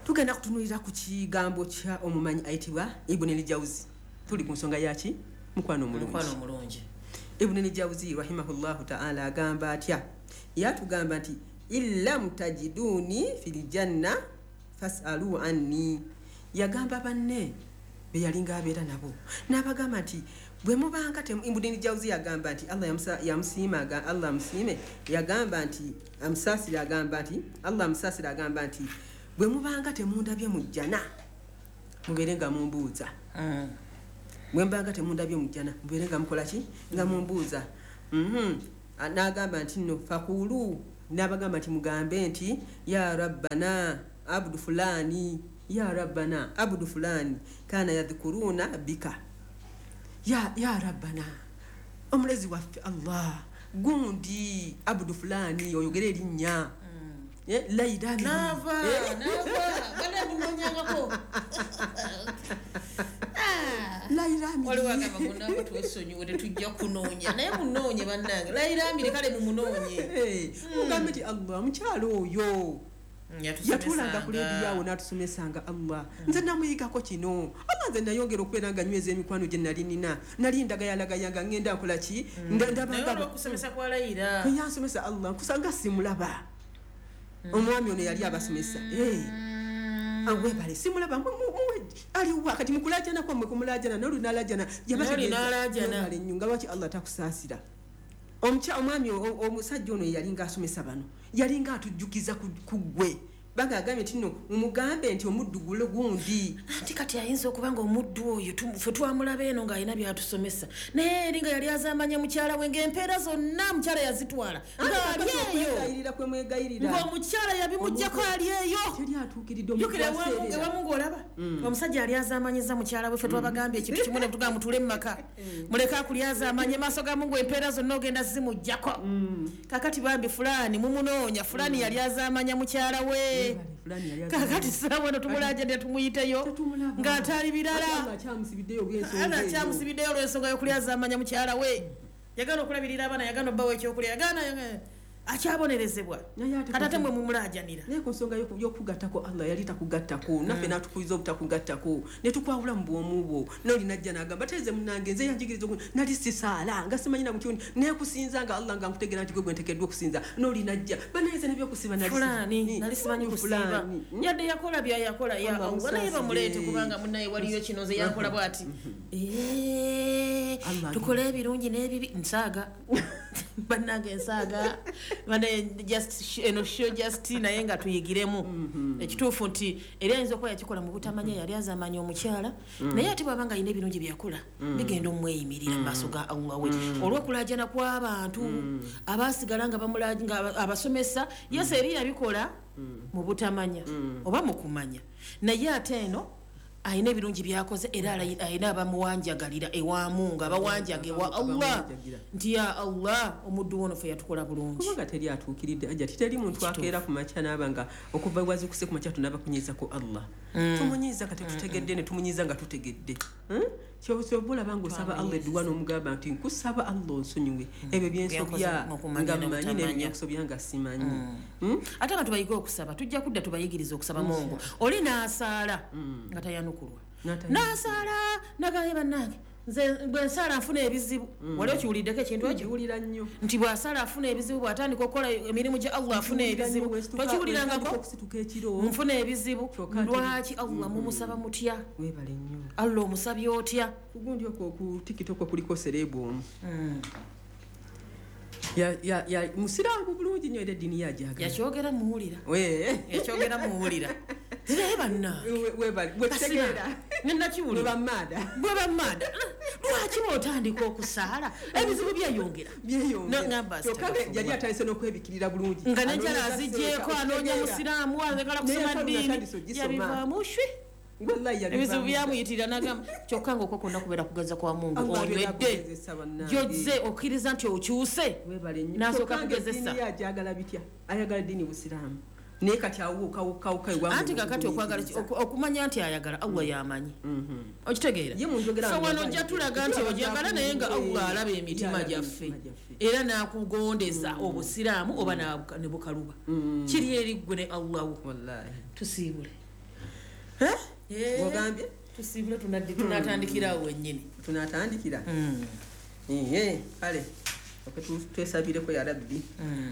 tugenda kutunuulira ku kigambo kya omumanyi ayitibwa Ibuni Ljauzi. Tuli ku nsonga yaki? Mukwano omulungi. Omukwano omulungi. Ibuni Ljauzi rahimahullahu taala agamba atya? Yatugamba nti illam tajiduni fil janna fasalu anni. Yagamba banne be yalinga abeera nabo, n'abagamba nti Bwe mubanga Ibn Jawzi yagamba nti Allah yamusiima, Allah amusiime, yagamba nti amusaasira, agamba nti Allah amusaasira, agamba nti bwe mubanga temundabye mu jjana mubeere nga mumbuuza. Bwe mbanga temundabye mu jjana mubeere nga mukola ki? Nga mumbuuza. N'agamba nti nno fakulu, n'abagamba nti mugambe nti ya rabbana abdu fulani, ya rabbana abdu fulani kana yadhkuruna bika. Ya rabbana, omulezi waffe Allah, gundi abdu fulani, oyogere erinnya. Laida nava bana munonyangako. Waliwo agamba munange twesonyiwe tetujja kunoonya, naye munoonye bannange. Laira amiri kale mumunoonye. Mugambe nti Allah mukyalo oyo yatuulanga ku leediyo awo n'atusomesanga Allah. Nze namuyigako kino. Allah nze nayongera okubeera nga nyweza emikwano gye nali nina. Nali ndagayalagaya nga ngenda nkola ki? Ndabanga okusomesa kwa Laira. Yansomesa Allah nkusanga simulaba. Omwami ono yali abasomesa. Webale simulaba aliwa kati mukulajana kwammwe kumulajana n'olunalajana yabategeeza nnyo nga lwaki Allah takusaasira. Omwami omusajja ono yalinga asomesa bano, yalinga atujjukiza ku ggwe. Banga agambye nti nno mumugambe nti omuddu gulo gundi. Anti kati ayinza okuba nga omuddu oyo ffe twamulaba eno ng'alina by'atusomesa, naye eri nga yali azaamanya mukyala we ng'empeera zonna mukyala yazitwala ng'ali eyo kwemwegayirira ng'omukyala yabimuggyako ali eyo. Teri atuukiridde Jjukira ewamu ng'olaba omusajja yali azaamanyiza mukyala we. Ffe twabagambye ekintu kimu ne tugamba mutuule mu maka, muleke akulyazaamanye maaso ga Mungu, empeera zonna ogenda zimuggyako. Kakati bambi fulani mumunoonya, fulani yali azaamanya mukyala we. Kakati saawa no tumulajja tumuyiteyo ng'atali birala, akyamusibiddeyo olw'ensonga y'okulyazaamanya mukyala we. Yagana okulabirira abaana, yagana obbawo ekyokulya, yagana akyabonerezebwa. Kati ate mwe mumulajanira. Naye ku nsonga y'okugattako Allah yali takugattako, naffe n'atukuyiza obutakugattako ne tukwawula mu bwomu bwo. N'oli najja n'agamba teze munnange nze yanjigiriza nali sisaala nga simanyi na mutyo naye kusinza nga Allah nga nkutegeera nti gwe gwe nteekeddwa okusinza. N'oli najja banaye nze n'ebyokusiba nali fulani nali simanyi kusiba, yadde yakola bya yakola ya Allah, naye bamuleete kubanga munnaye waliyo kino nze yankola bw'ati. Tukole ebirungi n'ebibi. Nsaaga bannange nsaaga just eno show just naye nga tuyigiremu ekituufu nti eri ayinza okuba yakikola mu butamanya, yali azamanya omukyala, naye ate bw'aba nga alina ebirungi byakola bigenda omweyimirira mu maaso ga Allah we olw'okulajana kw'abantu abaasigala nga nga abasomesa. Yes, eri yabikola mu butamanya oba mu kumanya, naye ate eno alina ebirungi byakoze era alina abamuwanjagalira ewa Mungu, abawanjaga ewa Allah nti ya Allah omuddu wono ffe yatukola bulungi. Kubanga teri atuukiridde ajja teri muntu akeera ku makya n'aba nga okuva wazukuse ku makya tunaba kunyiizako Allah. Tumunyiiza kati tutegedde ne tumunyiiza nga tutegedde. Kyoba olaba ng'osaba Allah edduwa n'omugamba nti nkusaba Allah onsonyiwe ebyo byensobya nga mmanyi n'ebyensobya nga simanyi. Ate abantu bayige okusaba, tujja kudda tubayigirize okusaba Mungu. Oli n'asaala nga tayanukulwa, n'asaala nagaye bannange nze bwe nsaala nfuna ebizibu. Wali okiwuliddeko ekintu ekyo? Nkiwulira nnyo nti bw'asaala afuna ebizibu, bw'atandika okukola emirimu gya Allah afuna ebizibu. Tokiwulirangako? Nfuna ebizibu. Lwaki Allah mumusaba mutya? Webale nnyo. Allah omusabye otya? Kugundi okwo ku TikTok kuliko serebu omu ya musiraamu bulungi nnyo era eddiini yajagala. Yakyogera muwulira. Yakyogera muwulira. Naye bannange webale bwekitegeera nenakiwulira bwe bammaada lwaki bw'otandika okusaala ebizibu byeyongera byeyongera. Yali atandise n'okwebikirira bulungi nga n'enjala aziggyeko, anoonya musiraamu ayagala kusoma ddiini, yabivaamu shwi ebizibu byamuyitirira n'agamba kyokka nga okwo kwonna kubeera kugeza kwa Mungu. Onywedde gy'ozze okkiriza nti okyuse n'asooka kugezesa. Ayagala bitya? Ayagala ddiini busiraamu naye kati awukawukawuka. Anti kakati okwagala okumanya nti ayagala Allah y'amanyi. Okitegeera? So wano ojja tulaga nti ojagala naye nga Allah alaba emitima gyaffe era n'akugondeza obusiraamu oba ne bukaluba. Kiri eri ggwe ne Allah wo. Tusiibule. Ogambye tusiibule, tunatandikira awo wennyini. Tunatandikira kale Twesabireko ya Rabbi.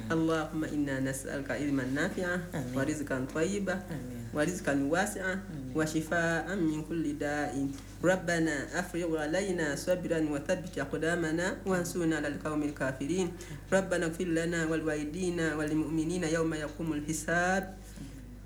Allahumma inna nas'aluka ilman nafi'a wa rizqan tayyiba wa rizqan wasi'a wa shifaa'an min kulli da'in. Rabbana afrigh alayna sabran wa thabbit aqdamana wansurna 'alal qawmil kafirin. Rabbana ighfir lana wal walidina wal mu'minina yawma yaqumul hisab.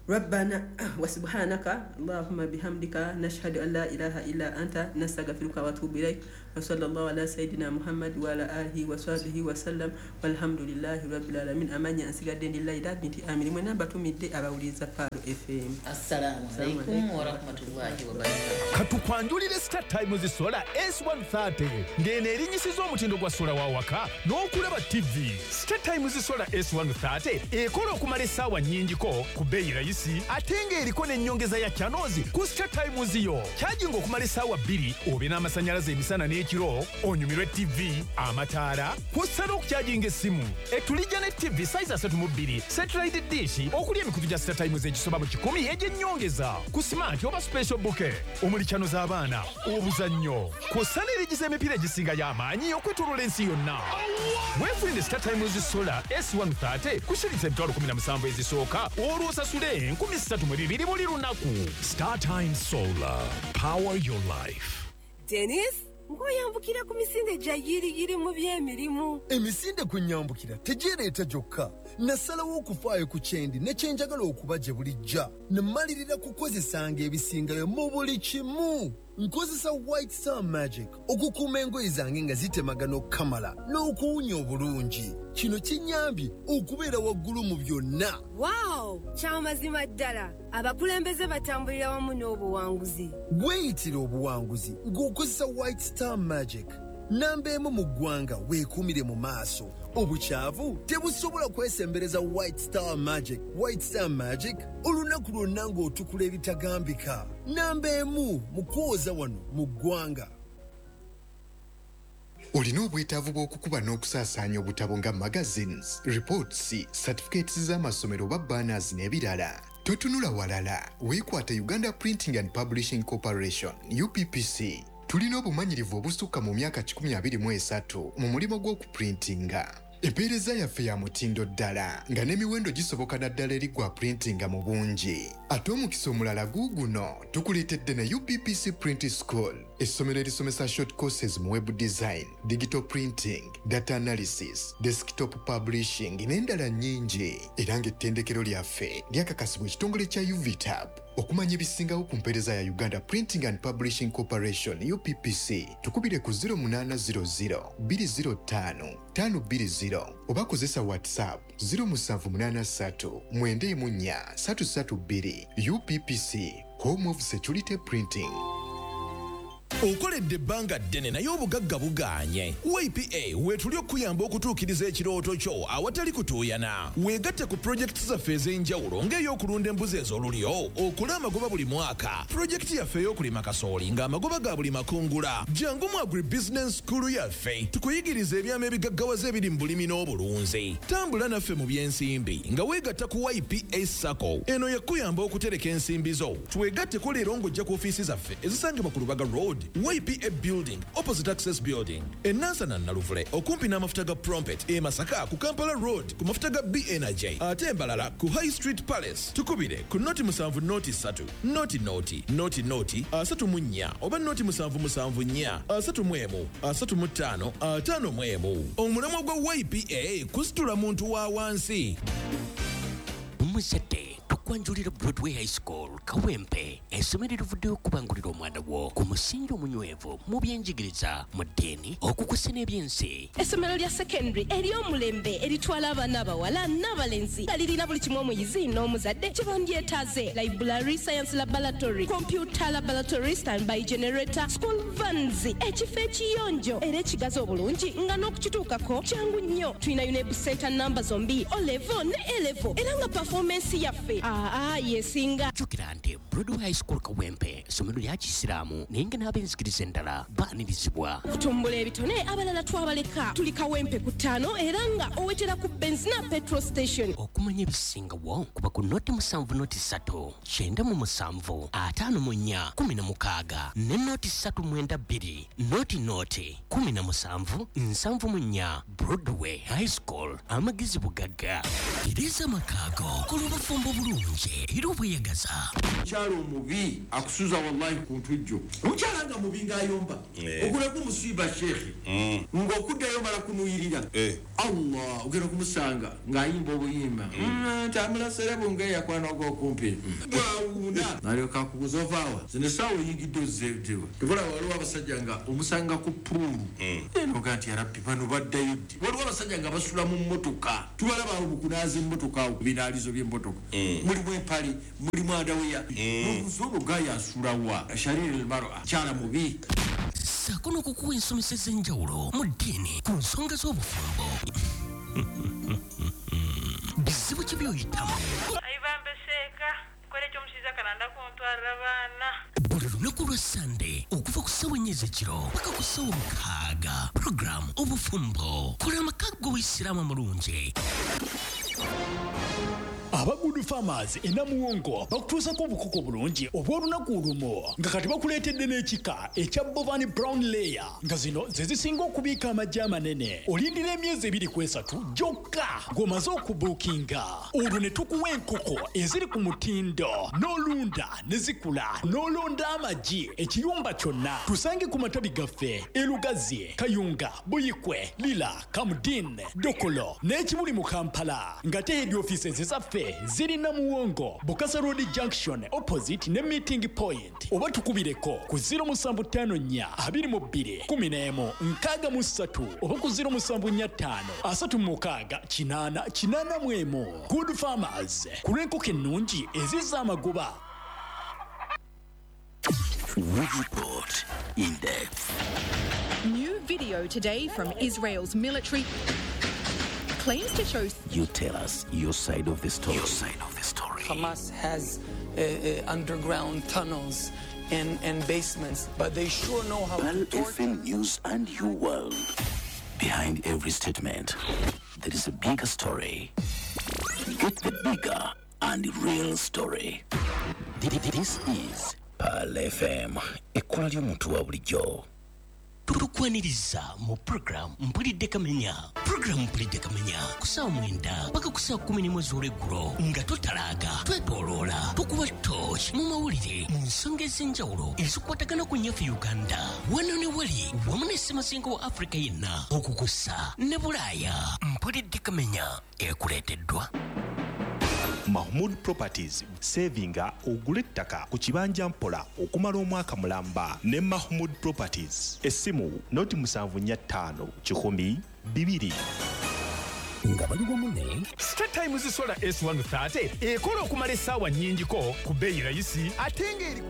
Rabbana wa subhanaka Allahumma bihamdika nashhadu an la ilaha illa anta nastaghfiruka wa atubu ilaik. Wa sallallahu ala sayyidina Muhammad wa ala alihi wa sahbihi wa sallam walhamdulillahi rabbil alamin. Amanya ansigadde ndi Laila binti Amiri mwena batumidde abawuliriza Palo FM. Assalamu alaikum wa rahmatullahi wa barakatuh. Katukwanjulire Star Times Solar S130 ng'eno erinyisiza omutindo gwa sola wa waka n'okulaba TV. Star Times Solar S130 ekola okumala essaawa nnyingiko ku bbeeyi rayisi ate ng'eriko n'ennyongeza ya channels ku Star Times yo. Kyajinga okumala essaawa 2 obe n'amasannyalaze emisana n'ekiro, onyumirwe TV, amataala, kw'ossa n'okukyajinga essimu. Etulijja ne TV size 32, satellite dish okuli emikutu gya Star Times egisoba mu 100 egy'ennyongeza ku smart oba special bouquet omuli channel z'abaana, obuzannyo, kw'ossa n'erigiza emipiira egisinga y'amaanyi okwetooloola ensi yonna. Weefunire Star Times Solar S130 ku shilingi 17,000 ezisooka olwo osasule 3,200 buli lunaku. Star Times Solar, power your life. Dennis, ngoyambukira ku misinde gya yiriyiri mu by'emirimu. Emisinde kwe nyambukira tegyereeta gyokka. Nasalawo okufaayo ku kyendi ne kye njagala okuba gye bulijja. Ne mmalirira kukozesanga ebisingayo mu buli kimu. Nkozesa White Star Magic okukuuma engoye zange nga zitemagana okukamala n'okuwunya obulungi. Kino kinnyambye okubeera waggulu mu byonna. Wow! Kyamazima ddala. Abakulembeze batambulira wamu n'obuwanguzi. Weeyitira obuwanguzi ng'okozesa White Star Magic. Namba emu mu ggwanga weekuumire mu maaso. Obukyavu tebusobola kwesembereza White Star Magic. White Star Magic olunaku lwonna ng'otukula ebitagambika. Namba emu mu kwoza wano mu ggwanga. Olina obwetaavu bw'okukuba n'okusaasaanya obutabo nga magazines, reports, certificates z'amasomero oba banners n'ebirala. Totunula walala, weekwate Uganda Printing and Publishing Corporation, UPPC. Tulina obumanyirivu obusukka mu myaka 123 mu mulimu gw'okuprintinga. Empeereza yaffe ya mutindo ddala nga n'emiwendo gisoboka naddala eri gwa printinga mu bungi. Ate omukisa omulala guuguno tukuleetedde ne UPPC Print School, essomero erisomesa short courses mu web design, digital printing, data analysis, desktop publishing n'endala nnyingi. Era ng'ettendekero lyaffe lyakakasibwa ekitongole kya UVTAB. Okumanya ebisingawo ku mpeereza ya Uganda Printing and Publishing Corporation UPPC, tukubire ku 0800 205 520 oba kozesa WhatsApp 0783 94 332. UPPC, Home of Security Printing. Okoledde ebbanga ddene naye obugagga bugaanye. YPA weetuli okuyamba okutuukiriza ekirooto kyo awatali kutuuyana. Weegatte ku pulojekiti zaffe ez'enjawulo ng'ey'okulunda embuzi ez'olulyo, okola amagoba buli mwaka, pulojekiti yaffe ey'okulima kasooli ng'amagoba ga buli makungula. Jangu mu agribusiness school yaffe tukuyigiriza ebyama ebigaggawaza ebiri mu bulimi n'obulunzi. Tambula naffe mu by'ensimbi nga weegatta ku YPA SACCO. Eno yakuyamba okutereka ensimbi zo. Twegatteko leero ng'ojja ku ofiisi zaffe ezisangibwa ku Lubaga Road, YPA Building, opposite Access Building, e Nansana Naluvule okumpi n'amafuta ga Prompet, e Masaka ku Kampala Road ku mafuta ga B Energy, ate Mbarara ku High Street Palace. Tukubire ku 0 7 0 3 0 0 0 0 34 oba 0 7 7 4 31 35 51. Omulamwa gwa YPA kusitula muntu wa wansi. Omuzadde, tukwanjulira Broadway High School Kawempe, essomero erivuddeyo okubangulira omwana wo ku musingi omunywevu mu byenjigiriza, mu ddiini, okukusa n'ebyensi. Essomero lya secondary ery'omulembe eritwala abaana abawala n'abalenzi nga lirina buli kimu omuyizi n'omuzadde kye bandyetaaze: library, science laboratory, computer laboratory, standby generator, school vans, ekifo ekiyonjo era ekigazi obulungi nga n'okukituukako kyangu nnyo. Tulina UNEB center namba zombi, O level ne A level, era nga performance yaffe Aa yesinga. Jjukira nti Broadway High School Kawempe ssomero lya Kisiraamu, naye nga n'ab'enzikiriza endala baanirizibwa. Kutumbula ebitone, abalala twabaleka. Tuli Kawempe ku 5 era nga owetera ku Benzina petrol station. Okumanya ebisingawo kuba ku 07 03 97 54 16 ne 0392 00 17 74. Broadway High School, amagezi bugagga. Tereza amakaago, kola obufumbo bulungi era obweyagaza. Omukyala omubi akusuza wallahi ku ntujjo. Omukyala nga mubi ng'ayomba, ogulako omusiiba sheekhe, ng'okuddayo mala kunuyirira. Allah, ogenda kumusanga ng'ayimba obuyimba ntamulasere bunge yakwana ogw'okumpi bwawuuna nalyoka akubuza ovaawa zino essaawa oyingidde ozzeewa. Tebula waliwo abasajja nga omusanga ku puulu enoga nti yarabbi bano baddayo ddi. Waliwo abasajja nga basula mu mmotoka, tubalaba awo mu kunaaza emmotoka awo ku binaalizo by'emmotoka, mulimu empale, mulimu adaweya, n'obuuza olwo gaaya asulawa. Shariri almar'a, kyala mubi. Ssaako n'okukuwa ensomesa ez'enjawulo mu ddiini ku nsonga z'obufumbo. Bizibu ki by'oyitamu? Ayibambe seeka kola ekyomushiza kalanda kuntwarira abaana. Buli lunaku lwa Sande okuva ku ssaawa 4 ez'ekiro paka ku ssaawa 6, puroguramu Obufumbo, kola amaka g'Obuyisiraamu amulungi. Aba Good Farmers e Namuwongo bakutuusako obukoko bulungi obw'olunaku olumu, nga kati bakuleetedde n'ekika ekya Bovani Brown Layer, nga zino ze zisinga okubiika amagi amanene. Olindira emyezi 2 ku 3 gyokka ng'omaze okubuukinga, olwo ne tukuwa enkoko eziri ku mutindo n'olunda ne zikula n'olonda amagi ekiyumba kyonna. Tusange ku matabi gaffe e Lugazi, Kayunga, Buyikwe, Lira, Kamudin, Dokolo n'ekibuli mu Kampala, nga te head offices zaffe ziri Namuwongo, Bukasa Road Junction opposite ne meeting point, oba tukubireko ku 0754 22 11 63 oba ku 0745 36 8 81. Good Farmers, ku lw'enkoko ennungi ezizza amagoba. We report in depth. New video today from Israel's military claims to show. You tell us your side of the story. Your side of the story. Hamas has underground tunnels and basements, but they sure know how Pearl to torture. FM News and your world. Behind every statement, there is a bigger story. Get the bigger and real story. This is Pearl FM, ekkula ly'omuntu wa bulijjo. Tukwaniriza mu program Mpulidde Kamenya. Program Mpulidde Kamenya ku ssaawa 9 paka ku ssaawa 11 ez'olweggulo, nga totalaaga, twetooloola, tukuba torch mu mawulire mu nsonga ez'enjawulo ezikwatagana ku nnyaffe Uganda, wano ne wali, wamu ne ssemazinga wa Afrika yenna, okukussa ne Bulaaya. Mpulidde Kamenya ekuleeteddwa Mahmood Properties. Savinga ogule ettaka ku kibanja mpola okumala omwaka mulamba ne Mahmood Properties. Essimu 0745 100 2. Nga bali wamu ne Star Times Solar S130 ekola okumala essaawa nnyingiko ku bbeeyi rayisi, ate ng'eri